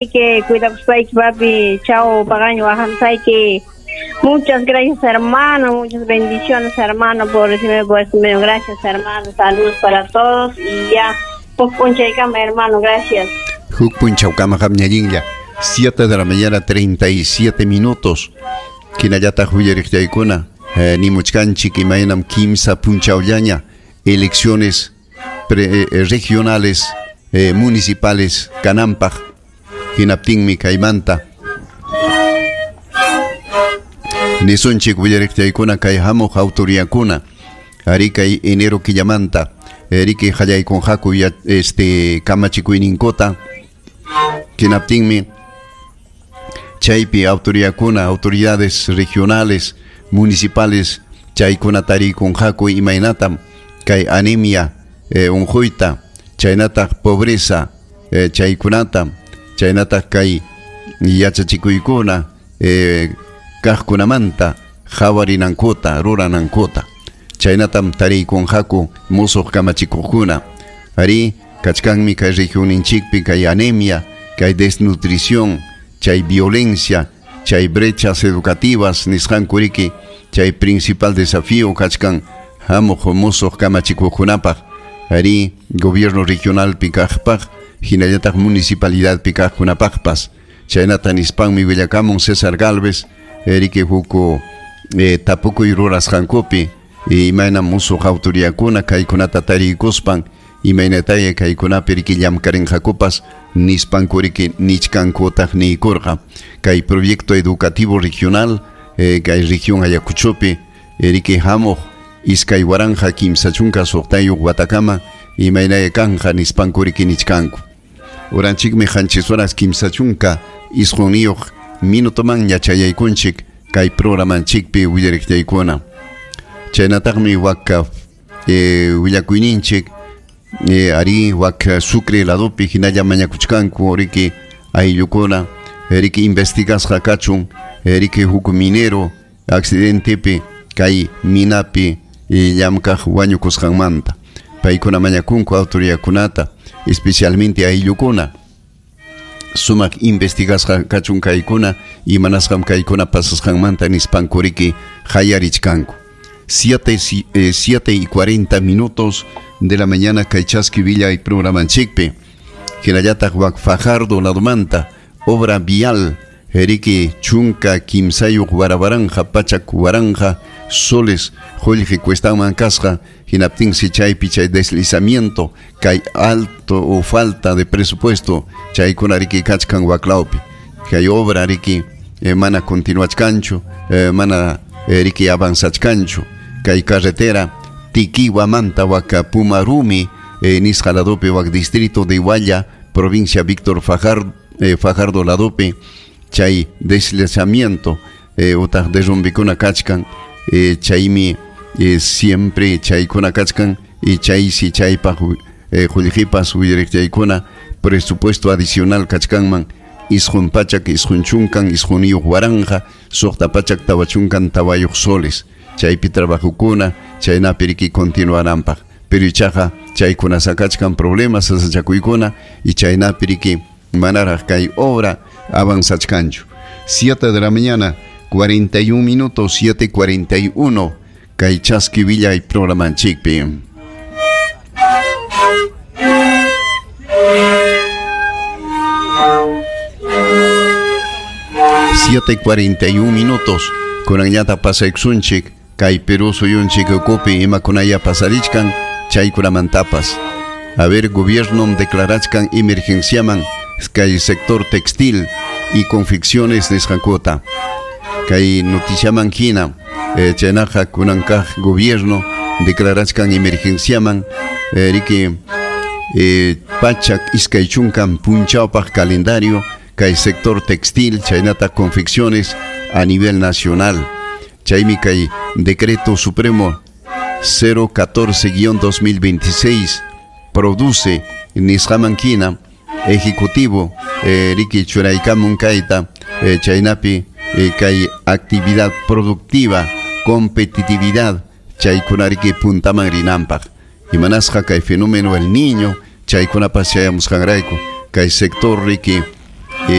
Que cuidakuspayki, papi. Chao, pagaño, ahamsayki. Muchas gracias, hermano. Muchas bendiciones, hermano, por recibirme por este medio. Gracias, hermano. Saludos para todos. Y ya, huk punchaykama, hermano. Gracias. Huk punchawkama qamñallinlla. 7 de la mañana, 37 minutos. Hinallataq willariqllaykuna nimuchkanchik imaynam kimsa punchawllaña elecciones regionales, municipales kananpaq. Hinaptinmi kaymanta nisunchik willariqllaykuna kay hamuq autoridadkuna ari kay enero killamanta riki qallaykunqaku kamachikuyninkota. Hinaptinmi chaypi autoridadkuna, autoridades regionales, municipales chaykuna tarikunqaku imaynatam kay anemia unquyta, chaynataq pobreza chaykunata, chaynataq kay yachachikuykuna kaqkunamanta hawarinankuta, ruranankuta. Chaynatam tariykunqaku musuq kamachikuqkuna. Ari kachkanmi kay regionninchikpi kay anemia, kay desnutrición, chay violencia, chay brechas educativas nisqanku riki, chay principal desafío kachkan hamuq musuq kamachikuqkunapaq. Ari gobierno regional kaqpaq, hinallataq municipalidad kaqkunapaqpas. Chaynata nispanmi willakamun César Galvez, riki huk tapukuy rurasqankupi imayna musuq autoridadkuna kaykunata tariykuspan imaynataya kaykunapi riki llamkarinqakupas nispanku riki nichkankutaq niykurqa. Kay proyecto educativo regional kay región Ayacuchopi riki hamuq 2036 watakama imaynaya kanja nispanku riki nichkanku. Uranchikmi 7 horas 39 minutoman yachayaykunchik kay programanchikpi willariqllaykuna. Chaynataqmi waka willakuyninchik ari wak Sucre ladopi hinalla mañakuchkanku riki ayllukuna riki investigasqa kachun riki huk minero accidentepi kay minapi llamkaq wañukusqanmanta. Paykuna mañakunku autoridadkunata, especialmente ayllukuna sumaq investigasqa kachun kaykuna imanasqam kaykuna pasasqanmanta nispanku riki hayarichkanku. 7:40 de la mañana kay Chaski Villa y programanchikpi. Hinallataq wak Fajardo ladomanta obra vial riki 13 warawaranja 100 soles qullqi cuestanman kasqa. Hinaptinsi chaypi chay deslizamiento kay alto o falta de presupuesto chaykuna riki kachkan waklawpi. Kay obra riki mana continuachkanchu, mana riki avanzachkanchu. Kay carretera Tiquihuamanta waka Pumarumi nisqa ladopi wak distrito de Hualla, provincia Víctor Fajardo ladopi chay deslizamiento utaq derrumbikuna kachkan chaymi siempre chaykuna kachkan y chaysi chaypaq qullqipas willariqchaykuna presupuesto adicional kachkanman 999 waranqa 644 soles. Chaypi trabajukuna chaynapi riki continuaranpaq. Pero ichaqa chaykuna sakachkan problemas sasachakuykuna y chaynapi riki manaraq kay obra avanzachkanchu. 7 de la mañana 41 minutos, 7:41 kay Chaski Villa y programanchikpi. 7:41 kunanllata pasaykusunchik kay Perú suyunchik ukupi imakunaya pasarichkan chaykunamantapas. A ver, gobierno declarachkan emergenciaman kay sector textil y confecciones nisqankuta. Kay noticiaman hina chaynaqa kunankaq gobierno declarachkan emergenciaman riki 120 punchawpaq calendario kay sector textil chaynata confecciones a nivel nacional. Chaymi kay decreto supremo 014-2026 produce nisqaman hina ejecutivo riki churaykamun kayta chaynapi kay actividad productiva, competitividad chaykuna riki puntaman rinanpaq. Imanasqa kay fenómeno el niño chaykunapas chayamusqanrayku kay sector riki